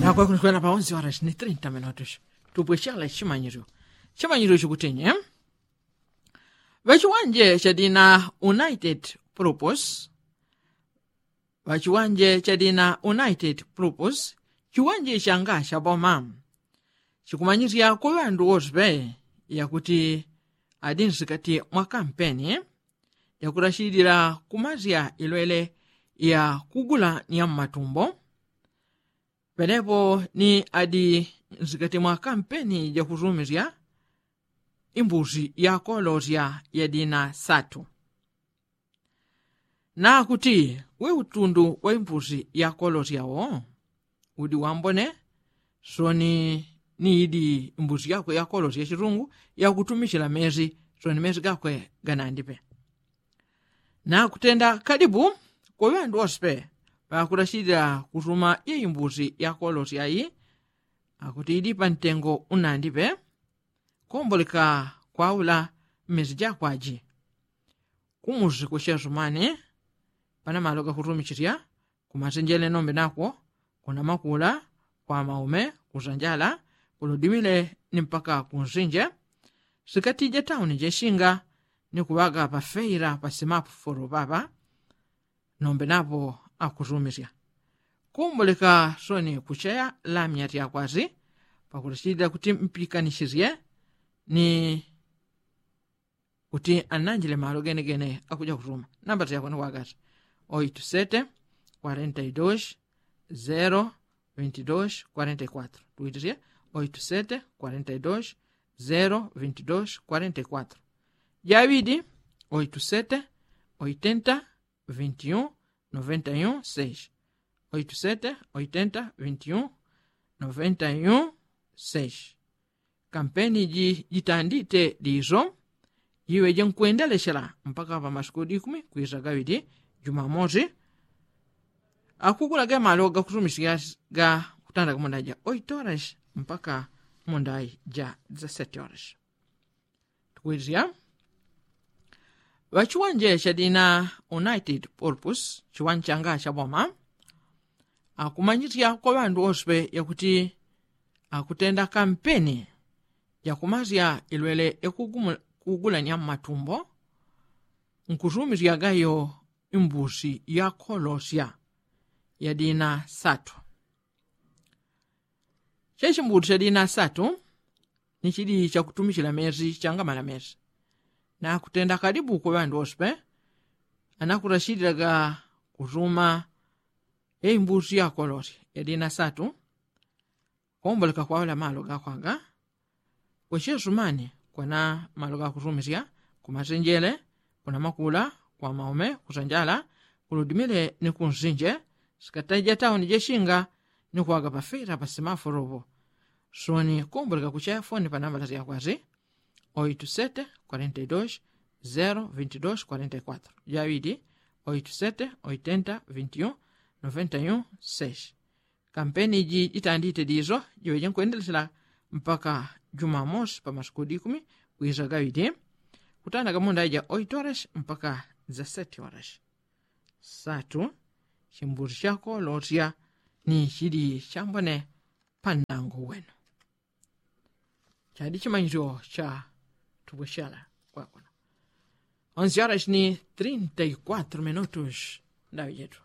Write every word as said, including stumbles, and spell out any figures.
Nakwe kunikwena pa onse warashi ni trinta minutus. Tupweshela chimanyiryo. Chimanyiryo chikutinye, ŵachiwanje chadina united propose. Ŵachiwanje chadina united propose, chiwanje changa chaboma. Chikumanyisya kwa ŵandu wose ŵe yakuti adi nsikati mwa kampeni yakurashilila kumasya ilwele ya kugula ni ya mmatumbo. Penepo ni adi nsikati mwa kampeni jakusumisya imbusi yakolosya yadina satu. Nakuti we utundu wa imbusi yakolosya wo udi wambone. Soni ni idi imbusi yakwe yakolosya chitungu yakutumichila mesi. Soni mesi gakwe ganandipe. Nakutenda kadibu kwa ŵandu wose pe ŵakulachilila kusuma ye imbusi yakolosya yi. Akuti idi pantengo unandipe. Komboleka kwaula mmesi jakwaji. Kumusi kuchesumani pana malo gakutumichisya kumasenjele nombe nakwo, kuna makula kwa maume kusanjala kuludimile ni mpaka kunsinje. Sikatija tauni jesinga ni kuŵaga pafeila pasimapu folo papa. Nombe napo akusumisya kumboleka soni kucheya lamya tyakwasi pakulichilila kuti mpikanishisye ni kuti ananjile malo genegene akuja kusuma. Namba tyakwe ni kwakasi oitu sete kwarenta i dos zero vinti dos kwarenta i kwatro. Tuwitisye oitu sete kwarenta i dos zero vinti dos kwarenta i kwatro. Jaŵidi oitu sete oitenta vinti un noventa i un seis. Oitu sete oitenta vinti un noventa i un seis. Kampeni ji jitandite diso jiŵe jenkwendelesyela mpaka pa masiku dikumi kwisa gaŵidi jumamosi. Akugula ge malo gakusumisya ga kutanda kumunda ja oito horas mpaka munda ja dezasete horas. Tukwizya ŵachiwanje chadina united purpose chiwanje changa chaboma. Akumanyisya kwa ŵandu wose pe yakuti akutenda kampeni jakumasya ilwele yakugulanya mmatumbo nkusumisya gayo imbusi yakolosya yadina satu. Chechimbuti chadina satu ni chili chakutumichila mesi changamala mesi. Nakutenda kadibu kwa ŵandu wose pe anakurashililaga kusuma ye imbusi yakolosya yadina satu. Komboleka kwaula malo gakwaga kwechesumani kwana malo gakusumisya kumasenjele kuna makula kwa maume kusanjala kuludimile ni kunsinje sikataija tauni jesinga ni kuwaga pafila pasimaforo po. Soni komboleka kuchaya foni panambala syakwasi oitu sete kwarenta i dos zero vinti dos kwarenta i kwatro. Jaŵidi oitu sete oitenta vinti un noventa i un seis. Kampeni ji jitandite diso jiŵe jenkwendelesyela mpaka jumamosi pa masiku dikumi kwisa gaŵidi kutanda gamunda ja oito horas mpaka dezasete horas. Satu chimbusi chakolosya ni chili chambone pandango wenu. Chadi chimanyisyo cha tupweshala kwakono. Onse horas ni trinta i kwatro minutus. Ndaŵi jetu.